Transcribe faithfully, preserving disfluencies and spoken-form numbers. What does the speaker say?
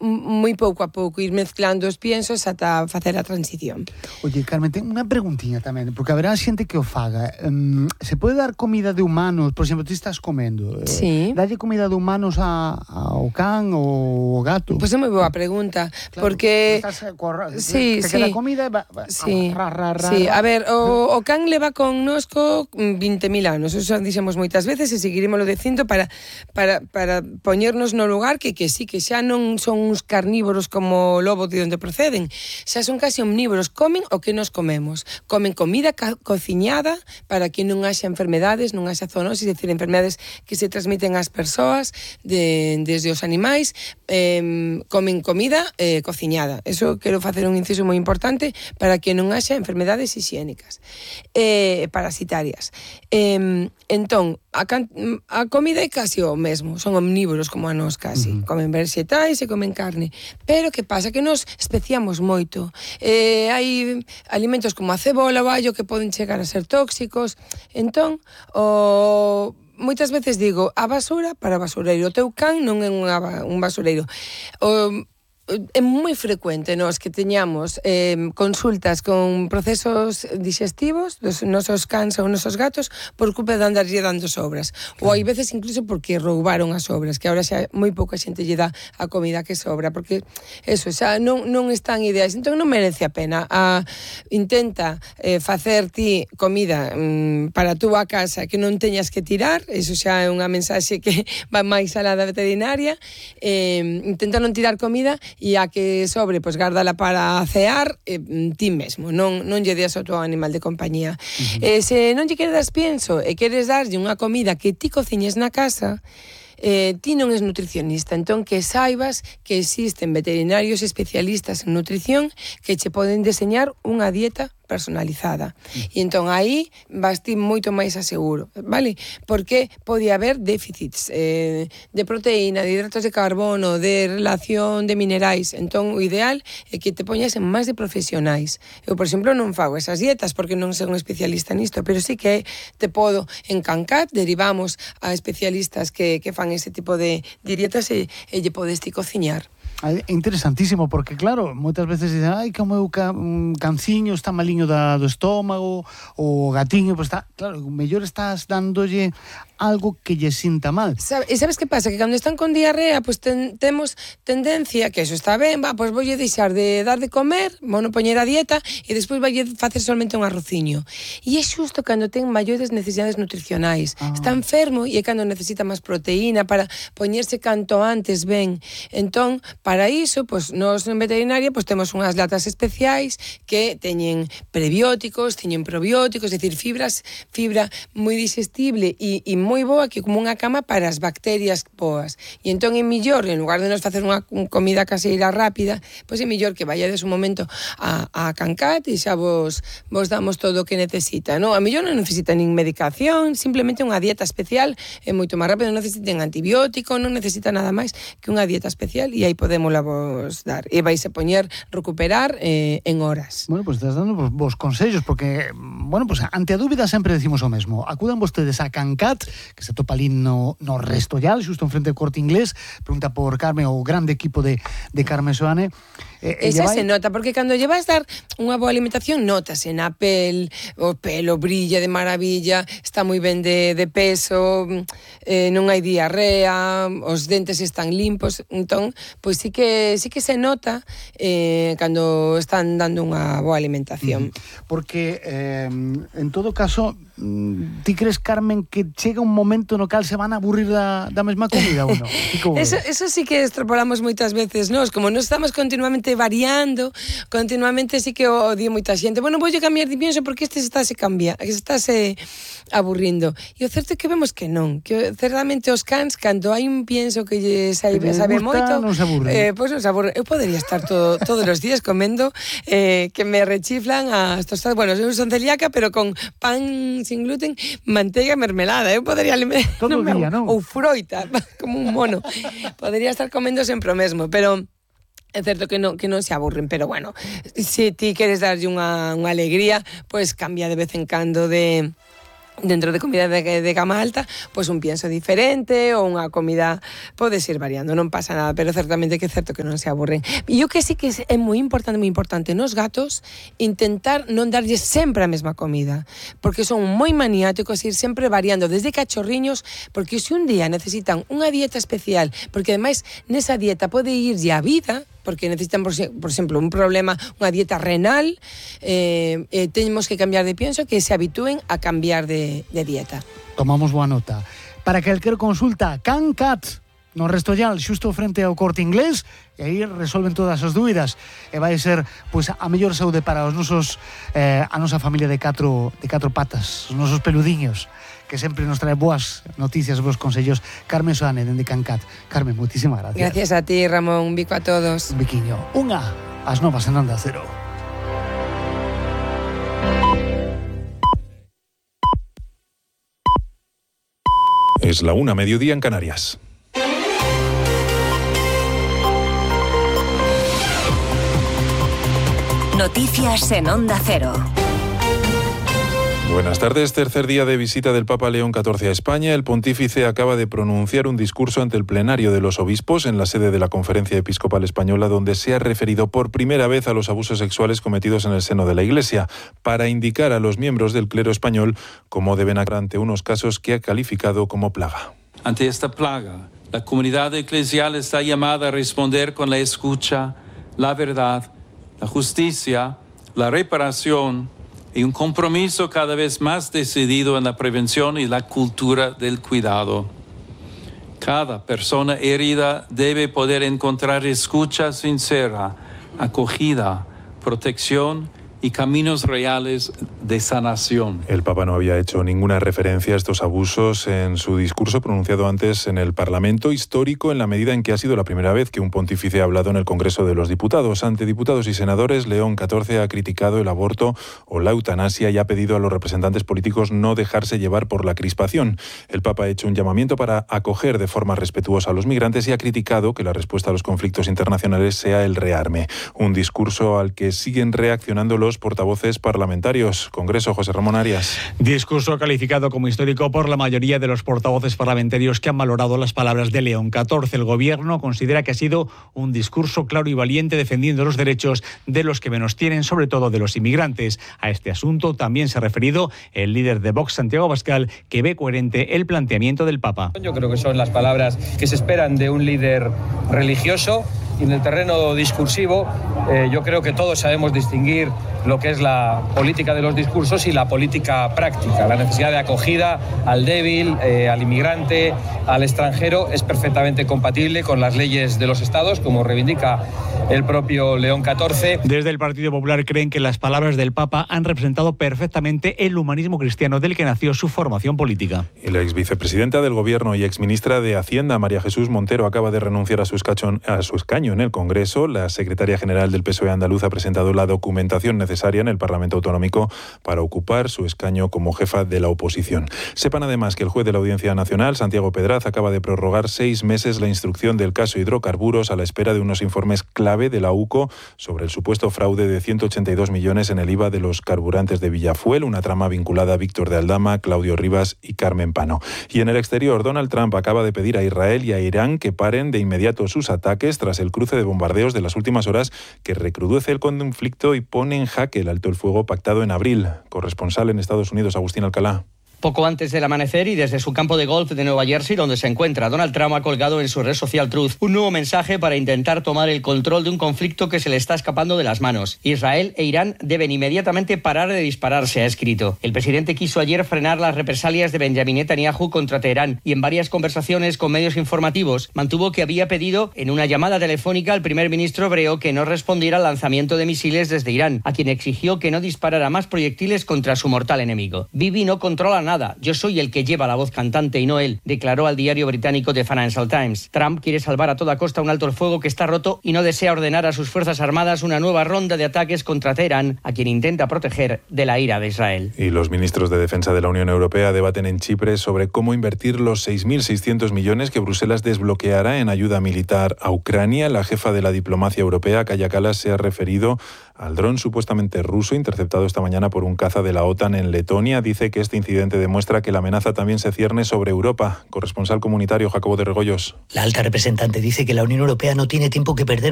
moi pouco a pouco ir mezclando os piensos ata facer a transición. Oye, Carmen, ten unha preguntiña tamén, porque haberá xente que o faga. Um, se pode dar comida de humanos, por exemplo, ti estás comendo, sí. eh, dalle comida de humanos a, ao can ou ao gato? Pois pues é moi boa pregunta, claro, porque estás, corra, sí, te sí. queda comida e va, va, sí. ra, ra, ra, sí. ra. A ver, o, o can leva connosco vinte mil anos, eso dixemos moitas veces e seguirímoslo dicindo para, para, para poñernos no lugar que, que sí, que xa non son uns carnívoros como o lobo de onde proceden, xa son casi omnívoros, comen o que nos comemos, comen comida co cociñada para que non haxa enfermedades, non haxa zoonosis, é dicir, enfermedades que se transmiten ás persoas de, desde os animais, eh, comen comida eh, cociñada, eso quero facer un inciso moi importante para que non haxa enfermedades higiénicas, eh, parasitarias. Eh, entón, a, can, a comida é casi o mesmo, son omnívoros como a nós casi, uh-huh. comen vegetais e comen carne, pero que pasa? Que nos especiamos moito, eh, hai alimentos como a cebola, o allo que poden chegar a ser tóxicos, entón, o... moitas veces digo, a basura para basureiro, o teu can non é unha, un basureiro, o... é moi frecuente nós que teñamos eh, consultas con procesos digestivos dos nosos cans ou nosos gatos por culpa de andarlle dando sobras, claro. Ou hai veces incluso porque roubaron as sobras, que agora xa moi pouca xente lle dá a comida que sobra, porque eso xa non, non están ideais, entón non merece a pena. A, intenta eh, facer ti comida mm, para a túa casa que non teñas que tirar, eso xa é unha mensaxe que va máis alá da veterinaria, eh, intenta non tirar comida e a que sobre, pois gárdala para cear eh, ti mesmo, non, non lle deas ao teu animal de compañía. Uh-huh. Eh, se non lle queres pienso e queres darlle unha comida que ti cociñes na casa, eh, ti non és nutricionista, entón que saibas que existen veterinarios especialistas en nutrición que che poden deseñar unha dieta personalizada. E entón aí vas ti moito máis aseguro, vale? Porque pode haber déficits eh, de proteína, de hidratos de carbono, de relación de minerais. Entón o ideal é que te poñas en máis de profesionais. Eu, por exemplo, non fago esas dietas porque non son un especialista nisto, pero sí que te podo en Cancat, derivamos a especialistas que, que fan ese tipo de, de dietas e, e lle podes ti cociñar. É interesantísimo, porque claro, moitas veces dicen, ai, que o meu ca, um, canciño está maliño da, do estómago, o gatiño, pois está, claro, mellor estás dándolle algo que lle sinta mal. Sabe, e sabes que pasa? Que cando están con diarrea, pois ten, temos tendencia, que eso está ben, va, pois voulle deixar de dar de comer, vou non poñer a dieta, e despois vai facer solamente un arrociño. E é xusto cando ten maiores necesidades nutricionais. Ah. Está enfermo e é cando necesita máis proteína para poñerse canto antes ben. Entón, para iso, pois, nós en veterinaria pois, temos unhas latas especiais que teñen prebióticos, teñen probióticos, é dicir, fibras, fibra moi digestible e, e moi boa, que como unha cama para as bacterias boas. E entón é millor, en lugar de nos facer unha comida caseira rápida, pois é millor que vayades un momento a, a Cancat e xa vos, vos damos todo o que necesita, non? A millor non necesita nin medicación, simplemente unha dieta especial, é moito máis rápido, non necesiten antibiótico, non necesita nada máis que unha dieta especial e aí podemos la vos dar. E vais a poñer recuperar eh, en horas. Bueno, pois pues estás dando vos, vos consellos, porque, bueno, pues ante a dúbida sempre decimos o mesmo. Acudan vostedes a Cancat, que se topa ali no, no Restollal, xusto enfrente do Corte Inglés, pregunta por Carmen, o grande equipo de, de Carmen Soane. Eh, Esa vai... se nota, porque cando lle vas dar unha boa alimentación, notase na pel, o pelo brilla de maravilla, está moi ben de, de peso, eh, non hai diarrea, os dentes están limpos, entón, pois sí que sí que se nota eh, cando están dando unha boa alimentación. Mm, porque, eh, en todo caso, ti crees, Carmen, que chega un momento no cal se van a aburrir da, da mesma comida ou non? Eso, eso sí que extrapolamos moitas veces, nós, como non estamos continuamente variando, continuamente sí que o di moita xente, bueno, voulle cambiar de pienso porque este se estáse cambia, que se estáse aburrindo. E o certo é que vemos que non, que certamente os cans, cando hai un pienso que lle sabe, sabe moito, non se aburre. Eh, pois pues non se aburre. Eu podería estar todo, todos os días comendo eh, que me rechiflan as tostadas, bueno, eu son celíaca, pero con pan sin gluten, manteiga e mermelada. Eu podería... Todo o día, non? Ou froita, como un mono. Podería estar comendo sempre o mesmo, pero... É certo que non, que non se aburren, pero bueno, se ti queres darlle unha, unha alegría, pois pues cambia de vez en cando de... dentro de comida de, de gama alta, pois un pienso diferente ou unha comida podes ir variando, non pasa nada, pero certamente que é certo que non se aburren. E o que sí que é moi importante, moi importante nos gatos, intentar non darlles sempre a mesma comida, porque son moi maniáticos, ir sempre variando, desde cachorriños, porque se un día necesitan unha dieta especial, porque ademais nesa dieta pode irlle a vida, porque necesitan, por, por exemplo, un problema, unha dieta renal, eh, eh, tenemos que cambiar de pienso, que se habitúen a cambiar de, de dieta. Tomamos boa nota. Para calquer consulta, CanCat, no Restollal, xusto frente ao Corte Inglés, e aí resolven todas as dúbidas, e vai ser pois a mellor saúde para os nosos eh, a nosa familia de catro de catro patas, os nosos peludiños, que sempre nos trae boas noticias, boas consellos. Carmen Soane, dende CanCat. Carmen, moitísimas gracias. Gracias a ti, Ramón. Un bico a todos. Un biquiño. Unha, as novas en Onda Cero. Es la una, mediodía en Canarias. Noticias en Onda Cero. Buenas tardes. Tercer día de visita del Papa León catorce a España. El pontífice acaba de pronunciar un discurso ante el plenario de los obispos en la sede de la Conferencia Episcopal Española, donde se ha referido por primera vez a los abusos sexuales cometidos en el seno de la Iglesia, para indicar a los miembros del clero español cómo deben actuar ante unos casos que ha calificado como plaga. Ante esta plaga, la comunidad eclesial está llamada a responder con la escucha, la verdad, la justicia, la reparación y un compromiso cada vez más decidido en la prevención y la cultura del cuidado. Cada persona herida debe poder encontrar escucha sincera, acogida, protección y caminos reales de sanación. El Papa no había hecho ninguna referencia a estos abusos en su discurso pronunciado antes en el Parlamento, histórico en la medida en que ha sido la primera vez que un pontífice ha hablado en el Congreso de los Diputados. Ante diputados y senadores, León catorce ha criticado el aborto o la eutanasia y ha pedido a los representantes políticos no dejarse llevar por la crispación. El Papa ha hecho un llamamiento para acoger de forma respetuosa a los migrantes y ha criticado que la respuesta a los conflictos internacionales sea el rearme. Un discurso al que siguen reaccionando los portavoces parlamentarios. Congreso, José Ramón Arias. Discurso calificado como histórico por la mayoría de los portavoces parlamentarios que han valorado las palabras de León catorce. El Gobierno considera que ha sido un discurso claro y valiente defendiendo los derechos de los que menos tienen, sobre todo de los inmigrantes. A este asunto también se ha referido el líder de Vox, Santiago Abascal, que ve coherente el planteamiento del Papa. Yo creo que son las palabras que se esperan de un líder religioso. Y en el terreno discursivo, eh, yo creo que todos sabemos distinguir lo que es la política de los discursos y la política práctica. La necesidad de acogida al débil, eh, al inmigrante, al extranjero, es perfectamente compatible con las leyes de los estados, como reivindica el propio León catorce. Desde el Partido Popular creen que las palabras del Papa han representado perfectamente el humanismo cristiano del que nació su formación política. Y la ex vicepresidenta del Gobierno y exministra de Hacienda, María Jesús Montero, acaba de renunciar a su, escacho, a su escaño en el Congreso. La secretaria general del P S O E andaluz ha presentado la documentación necesaria en el Parlamento Autonómico para ocupar su escaño como jefa de la oposición. Sepan además que el juez de la Audiencia Nacional, Santiago Pedraz, acaba de prorrogar seis meses la instrucción del caso Hidrocarburos a la espera de unos informes clave de la U C O sobre el supuesto fraude de ciento ochenta y dos millones en el I V A de los carburantes de Villafuel, una trama vinculada a Víctor de Aldama, Claudio Rivas y Carmen Pano. Y en el exterior, Donald Trump acaba de pedir a Israel y a Irán que paren de inmediato sus ataques tras el cruce de bombardeos de las últimas horas que recrudece el conflicto y pone en jaque el alto el fuego pactado en abril. Corresponsal en Estados Unidos, Agustín Alcalá. Poco antes del amanecer y desde su campo de golf de Nueva Jersey, donde se encuentra, Donald Trump ha colgado en su red social Truth un nuevo mensaje para intentar tomar el control de un conflicto que se le está escapando de las manos. Israel e Irán deben inmediatamente parar de dispararse, ha escrito. El presidente quiso ayer frenar las represalias de Benjamin Netanyahu contra Teherán y en varias conversaciones con medios informativos mantuvo que había pedido en una llamada telefónica al primer ministro hebreo que no respondiera al lanzamiento de misiles desde Irán, a quien exigió que no disparara más proyectiles contra su mortal enemigo. Bibi no controla nada. Nada. Yo soy el que lleva la voz cantante y no él, declaró al diario británico The Financial Times. Trump quiere salvar a toda costa un alto el fuego que está roto y no desea ordenar a sus fuerzas armadas una nueva ronda de ataques contra Teherán, a quien intenta proteger de la ira de Israel. Y los ministros de Defensa de la Unión Europea debaten en Chipre sobre cómo invertir los seis mil seiscientos millones que Bruselas desbloqueará en ayuda militar a Ucrania. La jefa de la diplomacia europea, Kaja Kallas, se ha referido al dron supuestamente ruso interceptado esta mañana por un caza de la OTAN en Letonia. Dice que este incidente demuestra que la amenaza también se cierne sobre Europa. Corresponsal comunitario Jacobo de Regoyos. La alta representante dice que la Unión Europea no tiene tiempo que perder para